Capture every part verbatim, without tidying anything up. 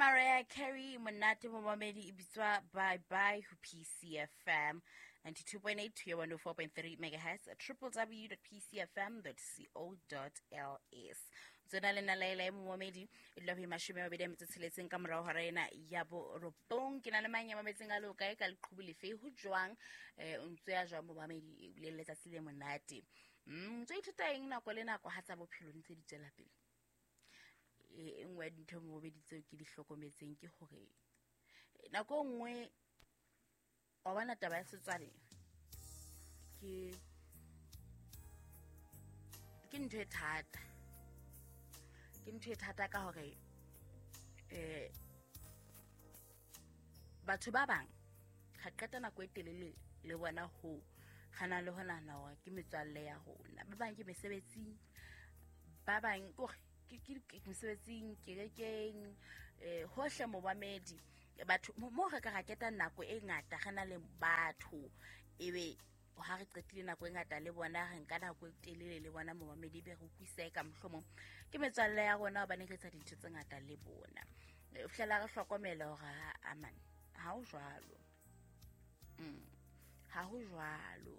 Mariah Carey, monate momamedi e bitswa Bye Bye ho P C F M ninety-two point eight to one oh four point three megahertz, triple w dot p c f m dot co dot l s. Tsona le nna Laila e momamedi, e dula ho mashome a mabedi a metso tsheletseng ka morao hora ena ya borobong. Ke na le mang ya mametseng a le hokae ka leqhubu lefe ho jwang, eh, o ntso ya jwang momamedi, e bile le letsatsi le monate. Mm, ntso ithuta eng nako le nako ha tsa bophelo ntse di tswela pele? E nngwe ya dintho momamedi tseo ke di hlokometseng ke hore nako e nngwe wa bona taba ya setswalle ke, ke ntho e thata. Ke ntho e thata ka hore, eh, batho ba bang ga qeta nako e telele le bona ho gana le ho nahana hore ke metswalle ya rona. Ba bang ke mesebetsing, ba bang ke hore ke, ke, ke mesebetsing, kerekeng, eh, hohle momamedi. Batho, mo, mo re ka ra keta nako e ngata re na le batho, ebe ha re qetile nako e ngata le bona, re nka nako e telele le bona momamedi, ebe re utlwisisa ka mohlomong ke metswalle ya rona hobane re etsa dintho tse ngata le bona. E, fihlela re hlokomela hore ha, aman, ha ho jwalo. Mm, ha ho jwalo.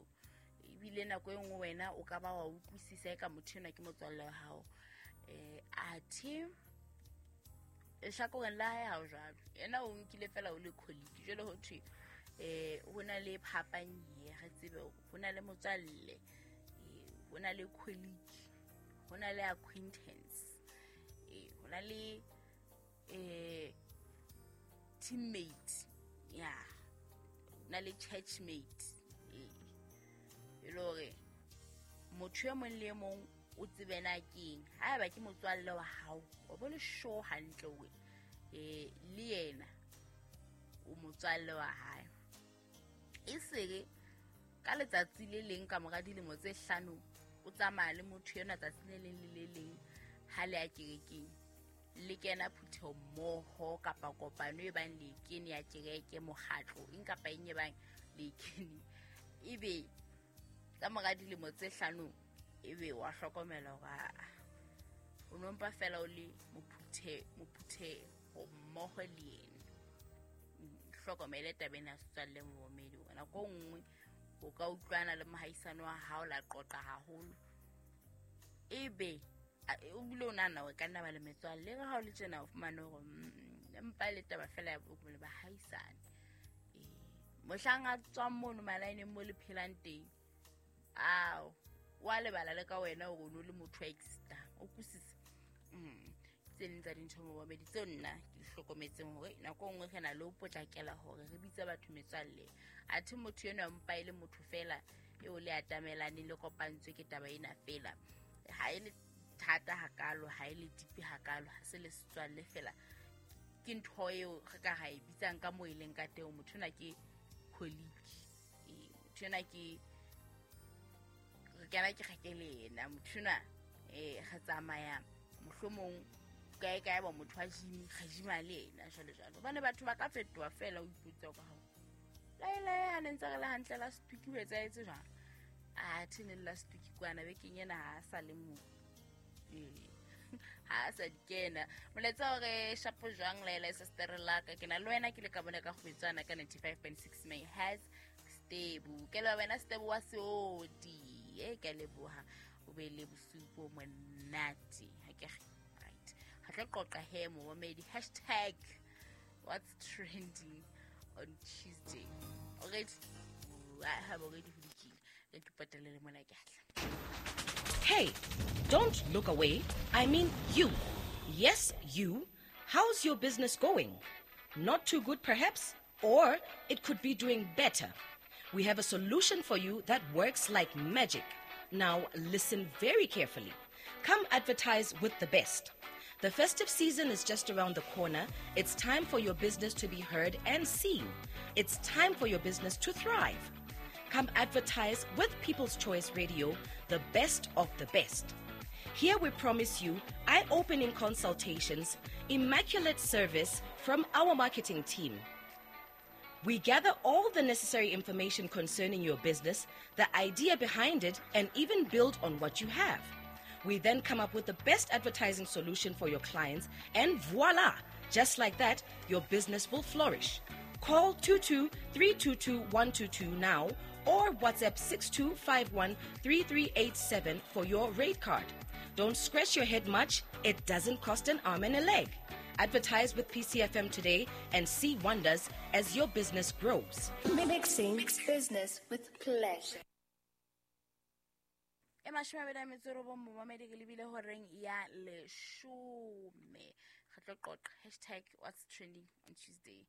Ebile nako e nngwe wena o ka ba wa utlwisisa eka motho enwa ke motswalle wa hao. Eh, athe lehlakoreng la hae ha ho jwalo. Yena o nkile fela o le colleague. Jwale ho thwe, eh, ho na le phapang ye, re tsebe hore ho na le motswalle, eh, ho na le colleague, ho na le acquaintance, eh, ho na le, eh, teammate, ya, ho na le churchmate, eh, e le hore motho e mong le e mong o tsebe na keng. Haeba ke motswalle wa hao, o bo le sure hantle hore, eh, le yena o motswalle wa hae. E sere ka letsatsi le leng ka mora dilemo tse hlano o tsamaya le motho enwa tsatsi le leng le le leng ha le ya kerekeng, le kena phutheho mmoho kapa kopano e bang le kene ya kereke, mokgatlo, eng kapa eng e bang le kene, ebe ka mora dilemo tse hlano ebe wa hlokomela hore aa, o no mpa fela o le mophuthe-, mophutheho mmoho le yena. Hlokomele taba ena ya setswalle momamedi, hore nako e nngwe o ka utlwana le mohaisane wa hao la qoqa haholo, ebe a, o bile o nahana hore e ka nna ba le metswalle. Le ha o le tjena o fumane hore, mm, empa e le taba fela ya bo le bahaisane. Eh, mohlang a tswang mono malaeneng mo le phelang teng, ao, wa lebala le ka wena hore o no le motho a existang. O utlwisisa? Mm. Tse ding tsa dintho momamedi tseo nna ke di hlokometseng hore nako e nngwe re na le ho potlakela hore re bitse batho metswalle, athe motho enwa mpa e le motho fela eo le atamelaneng le kopantswe ke taba ena fela. Ha e le thata hakalo, ha e le deep hakalo, ha se le setswalle fela. Ke ntho eo re ka ra e bitsang ka moo e leng ka teng. Motho enwa ke colleague, eh, motho enwa ke re kena kereke le yena, motho enwa, eh, re tsamaya mohlomong kae kae ba motho wa gym, re gym-a le yena jwalo jwalo. Hobane batho ba ka fetoha fela, o ipotsa hore hao laelae ha ne ntse re le hantle last week ho etsahetse jwang? Athe ne le last week kwana bekeng ena ha a sa le moo. Eh, ha a sa di kena. Molaetsa hore shapo jwang Laila sister la ka, ke na le wena ke le ka bona ka kgwetsana ka ninety-five point six megahertz. Stebu, ke le wena Stebu wa Seodi. E ke a leboha, o be le bosiu bo monate. Ha ke re, right. Re tlo qoqa he momamedi, hashtag what's trending on Tuesday. Already, I have already ho lokile. Re ke patale le mona ke atla. Hey, don't look away. I mean you. Yes, you. How's your business going? Not too good, perhaps? Or it could be doing better. We have a solution for you that works like magic. Now, listen very carefully. Come advertise with the best. The festive season is just around the corner. It's time for your business to be heard and seen. It's time for your business to thrive. Come advertise with People's Choice Radio, the best of the best. Here we promise you eye-opening consultations, immaculate service from our marketing team. We gather all the necessary information concerning your business, the idea behind it, and even build on what you have. We then come up with the best advertising solution for your clients, and voila, Just like that, your business will flourish. Call two two three two two one two two now or WhatsApp six two five one three three eight seven for your rate card. Don't scratch your head much. It doesn't cost an arm and a leg. Advertise with P C F M today and see wonders as your business grows. Mixing business with pleasure. E mashome a mabedi a metso e robong, momamedi, ke lebile horeng ya leshome. Re tlo qoqa hashtag what's trending on Tuesday.